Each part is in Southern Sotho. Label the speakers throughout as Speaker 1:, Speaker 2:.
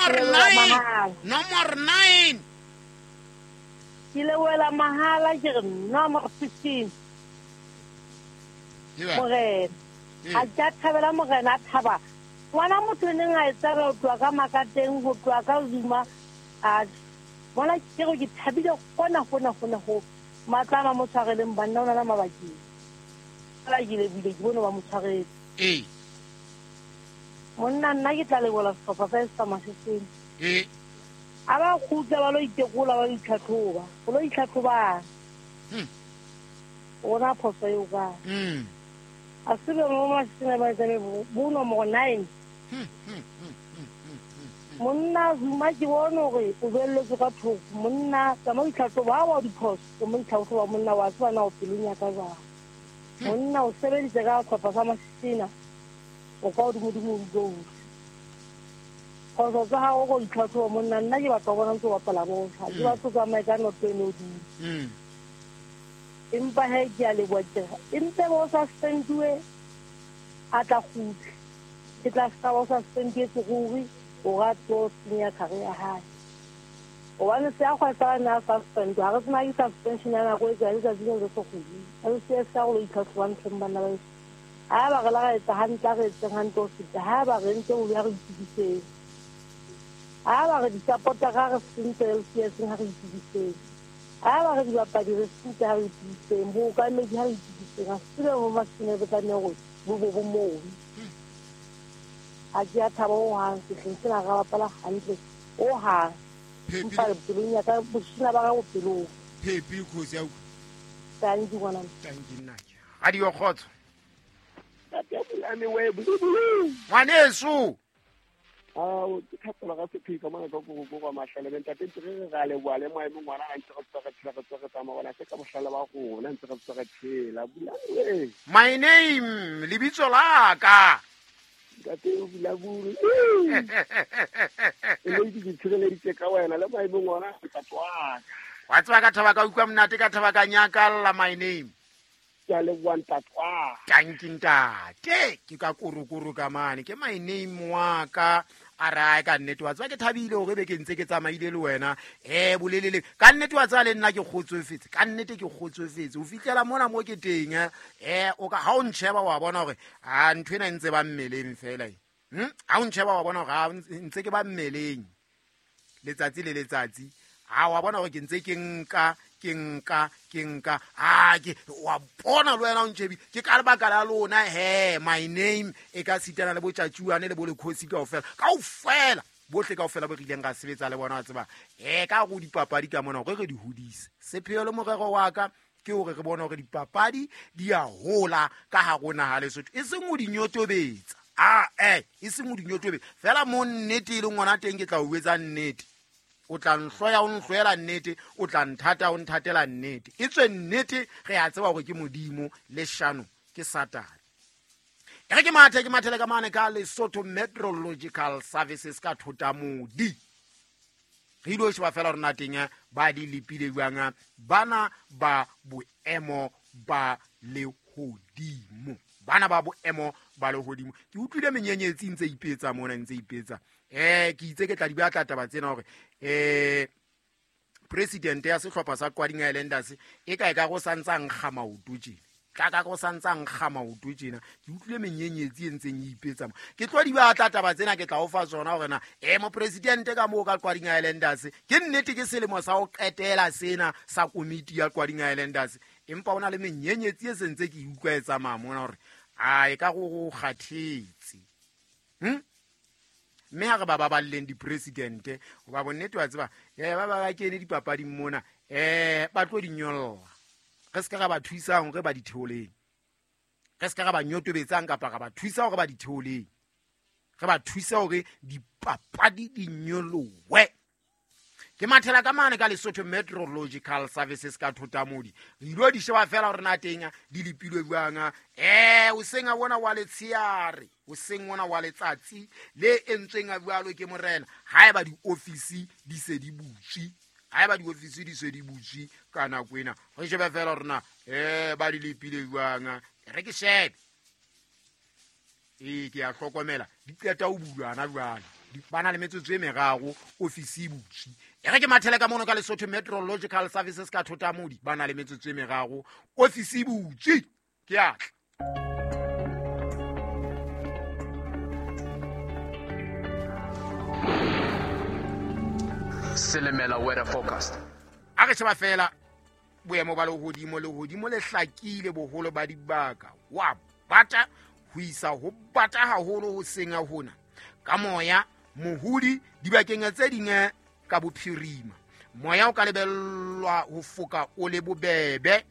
Speaker 1: Nomor 9, nomor 9.
Speaker 2: Ke lebohela mahala ke re nomor 15. Morena. A ke a thabela morena a thaba. Ngwana motho e neng a e tsaba ho tloha ka Makateng, ho tloha ka Zuma. A bona ke re ke thabile hona hona hona ho. Matla a ba mo tshwareleng banna o na mabakeng. Fela ke lebile ke bone ba mo tshwaretse.
Speaker 1: Ee.
Speaker 2: Monna nna ke tla lebola sehlopha sa sa Maseseng.
Speaker 1: Ee.
Speaker 2: A ba kgutla ba lo itekola ba lo itlhatlhoba. Go lo itlhatlhobang. Rona phoso eo ka. A se be mo Maseseng ba etsa bo nomoro 9. Monna Zuma ke bone hore o belletswe ka thoko. Monna tsamaya o itlhatlhoba ha wa diphoso o mo itlhatlhoba monna wa tseba na o pelong ya ka jwang. Monna o sebeditse ka sehlopha sa Masesena o ka hodimodimo o utlwe. Phoso tsa hao go itlhatlhoba monna nna ke batla ho bona ntse o bapala bolo. Ha ke batlo tsamaye ka noto eno hodimo. Empa he ke a leboha ke re empe bo suspendiwe a tla kgutla. Ke tla ska ba o suspendiwe ruri hore a tlo senya career ya hae. Hobane se a kgwesa ne a suspend ha re tsena ke suspension ya nako e kae letsatsi le le se kgudi. LCS ka go lo itlhatlhoba ntlheng banna ba heso. Ha ba re la ra etsa hantle a re etseng hantle ho feta. Ha ba re ntse ho ya re itukiseng. Ha ba re di-supporter ha re sentse LCS ha re itukiseng. Ha ba re dibapadi re sentse ha re itukiseng. Bookamedi ha re itukiseng. Ha se tsebe mo Maseseng re tlameha hore bo bo bo moo. Ha ke a thaba hohang sehleng sena ra bapala hantle hohang. Empa pelong ya ka bosina ba ga bopelong.
Speaker 1: Phepi khosi ya utlwa.
Speaker 2: Tanki ngwana.
Speaker 1: Tanki nna. Radio Kgotso.
Speaker 3: Ntate Bulane we bulu.
Speaker 1: Ngwaneso.
Speaker 3: Ao ke thapelo ga sephika mona ka go go mahlale be ntate ntse re re a leboha le maemo ngwana a ntse re tswa re tshela re tswa re tsamaya bona se ka bohlale ba rona ntse re tswa re tshela Bulane we.
Speaker 1: My name lebitso la ka.
Speaker 3: Ntate o bula buru. E le ke tshireleditse ka wena le maemo ngwana ntate wa ka.
Speaker 1: Wa tseba ka thaba ka utlwa monate ka thaba ka nyakalla my name.
Speaker 3: Ke a leboha ntate wa.
Speaker 1: Tanki ntate ke ka korokoro ka mane ke my name wa ka a re ae ka nnete wa tseba ke thabile hore be ke ntse ke tsamaile le wena bolelele ka nnete wa tseba le nna ke kgotsofetse ka nnete ke kgotsofetse o fihlela mona mo ke teng o ka ha o ntsheba wa bona hore a ntho ena e ntse ba mmeleng fela ha o ntsheba wa bona hore ha ntse ke ba mmeleng letsatsi le letsatsi a wa bona hore ke ntse ke nka ke nka ke nka a ke wa bona le wena o ntšhebi ke ka lebaka la lona he my name e ka sitana le botšatšuane le bo lekgosi kaofela kaofela bohle kaofela bo re ileng ra sebetsa le bona wa tseba ka go dipapadi ka mona gore re di hodise sepheo le morero wa ka ke hore re bone hore dipapadi di a hola ka hare naha Lesotho e seng ho di nyotobetsa e seng ho di nyotobetsa fela mo nnete e leng ngwana teng ke tla o etsa nnete o tla nhloya o nhloela nnete o tla nthata o nthatela nnete e tswe nnete re a tseba hore ke Modimo le shano ke Satane. E re ke mathe ke mathele ka mane ka Lesotho Meteorological Services ka Thotamodi re ile ho sheba fela rona teng ba di lepile jwang bana ba boemo ba lehodimo bana ba boemo ba lehodimo ke utlwile menyenyetsi ntse ipetsa mona ntse ipetsa ke itse ke tla di batla taba tsena hore president ya sehlopha sa Qwading Islanders e ka e ka go santsa nkga maoto tjena tla ka go santsa nkga maoto tjena ke utlwile menyenyetsi e ntseng e ipetsa mo ke tlo di batla taba tsena ke tla o fa tsona hore na mo president ka moo ka Qwading Islanders ke nnete ke selemo sa ho qetela sena sa komiti ya Qwading Islanders empa ona le menyenyetsi e sentse ke utlwa e tsamaya mona hore a e ka go kgathetse mme ha re ba baballeng di-presidente hoba bonnete wa tseba ba ba kene dipapading mona ba tlo di nyolla re se ka ra ba thusang hore ba di theoleng re se ka ra ba nyotobetsang kapa ra ba thusa hore ba di theoleng re ba thusa hore dipapadi di nyolowe. Ke mathela ka mane ka Lesotho Meteorological Services ka Thotamodi re ilo di sheba fela hore na teng di lepilwe jwang o seng a bona wa letsheare o seng ona wa letsatsi le entsweng a jwalo ke morena haeba di-office di se di butswe haeba di-office di se di butswe ka nako ena re shebe fela hore na ba di lepile jwang re ke shebe ke a hlokomela di qeta ho bulwa hana jwale. Ba na le metsotso e meraro ofisi e butswe. E re ke mathele ka mono ka Lesotho Meteorological Services ka Thotamodi, ba na le metsotso e meraro ofisi e butswe. Ke a tla.
Speaker 4: Silimela weather forecast.
Speaker 1: A re sheba fela boemo ba lehodimo, lehodimo le hlakile boholo ba dibaka. Wa bata ho isa ho bata haholo ho seng hona. Ka moya mohodi dibakeng tse ding ka bophirima. Moya o ka lebellwa ho foka o le bobebe.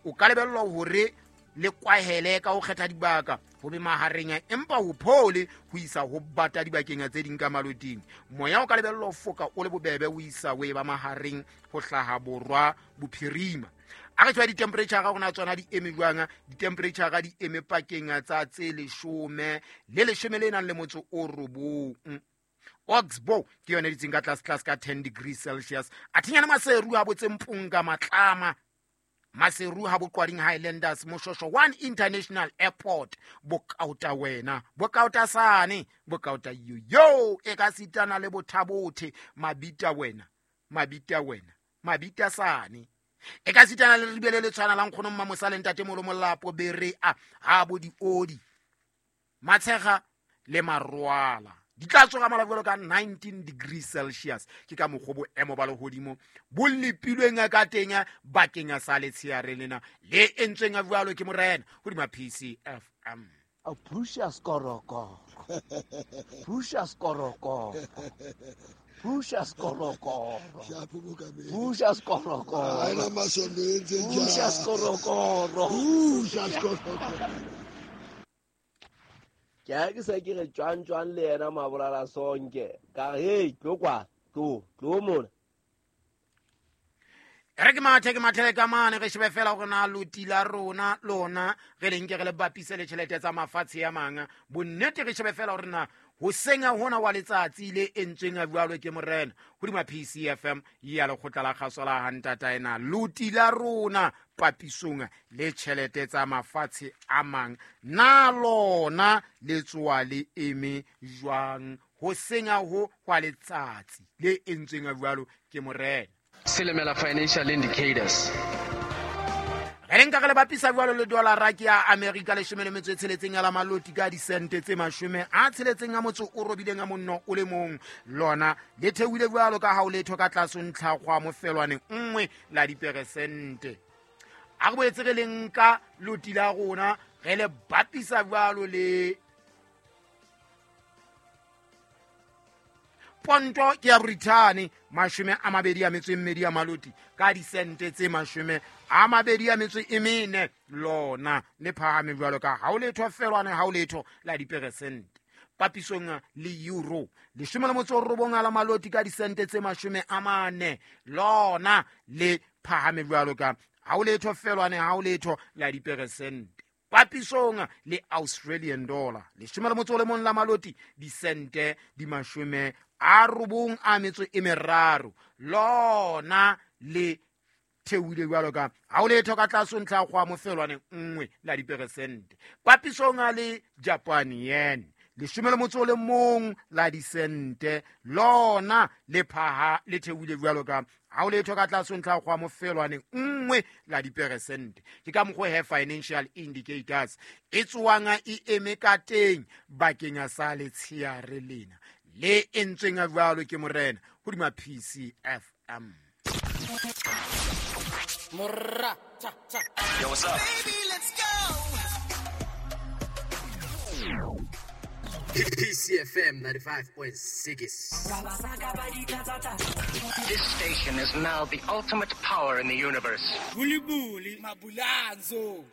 Speaker 1: O ka lebellwa hore le kwahele ka ho kgetha dibaka ho be mahareng, empa ho phole ho isa ho bata dibakeng tse ding ka maloting. Moya o ka lebellwa ho foka o le bobebe ho isa ho e ba mahareng ho hlaha borwa bophirima. A re tshwa di-temperature ga gona tsona di eme jwang? Di-temperature di eme pakeng tsa tse 10 le 10 le nang le motso o 9. Oxbow ke yone ditseng ka tlase tlase ka 10 degrees Celsius. A thinyana Maseru a botse Mpunga Matlama, Maseru ha Boqwading Highlanders, Moshosho One International Airport, Bokauta wena, Bokauta sane, Bokauta yo e ka sitana le Bothabothe, Mabita wena, Mabita wena, Mabita sane. E ka sitana le ribele le tshwana la nkgono Mmamosa le ntate Molo Molapo Bere a ha bo diodi, Matshega le Marwala. Di tla tsoga malabelo ka 19 degrees Celsius. Ke ka mokgwa boemo ba lehodimo bo lepilweng ka teng bakeng sa letsheare lena le entsweng jwalo ke morena hodima PCFM.
Speaker 5: A Precious Korokoro, Precious Korokoro, Precious Korokoro, Precious Korokoro, Precious Korokoro, Precious Korokoro. Ke a ke se ke re tjwang tjwang le yena mabolala sonke ka re hey tlo kwa tlo tlo mona.
Speaker 1: Re ke mathe ke mathele ka mane re shebe fela hore na loti la rona lona re le nke re le bapise le tjhelete tsa mafatshe a mang. Bonnete re shebe fela hore na ho senya hona wa letsatsi le entsweng a jwalo ke morena hodima PCFM ya lekgotla la kgaso la hantata ena loti la rona papisong le tjhelete tsa mafatshe a mang na lona le tsoa le eme jwang ho senya ho hwa letsatsi le entsweng a jwalo ke morena.
Speaker 4: Silimela financial indicators.
Speaker 1: Re nka re le bapisa jwalo le dollar ke ya America 16 ya la maloti ka disente tse 68 a monno o le mong. Lona le theohile jwalo ka ha o letho ka tlase ntlha kgwa mofelwane 1 la diperesente. A re boetse re le nka loti la rona re le bapisa jwalo le ponto ke ya Britain 22 ya maloti ka disente tse 24 lona le phahame jwalo ka ha o letho felwane ha o letho la diperesente. Papisong le euro 19 la maloti ka disente tse 40 lona le phahame jwalo ka ha o letho felwane ha o letho la diperesente. Papisong le Australian dollar 11 la maloti disente di 93 lona le theohile jwalo ka ha o letho ka tlase ntlha kgwa mofelwane 1 la diperesente. Papisong le Japan yen 11 la disente lona le phaha le theohile jwalo ka ha o letho ka tlase ntlha kgwa mofelwane 1 la diperesente. Ke ka mokgwa he financial indicators e tsoang e eme ka teng bakeng sa letsheare lena le entsweng jwalo ke morena hodima PCFM.
Speaker 6: Morra cha cha.
Speaker 4: Yo, what's up?
Speaker 6: Baby, let's go.
Speaker 4: PCFM 95.6. This station is now the ultimate power in the universe.
Speaker 6: Buli buli mabulanzo.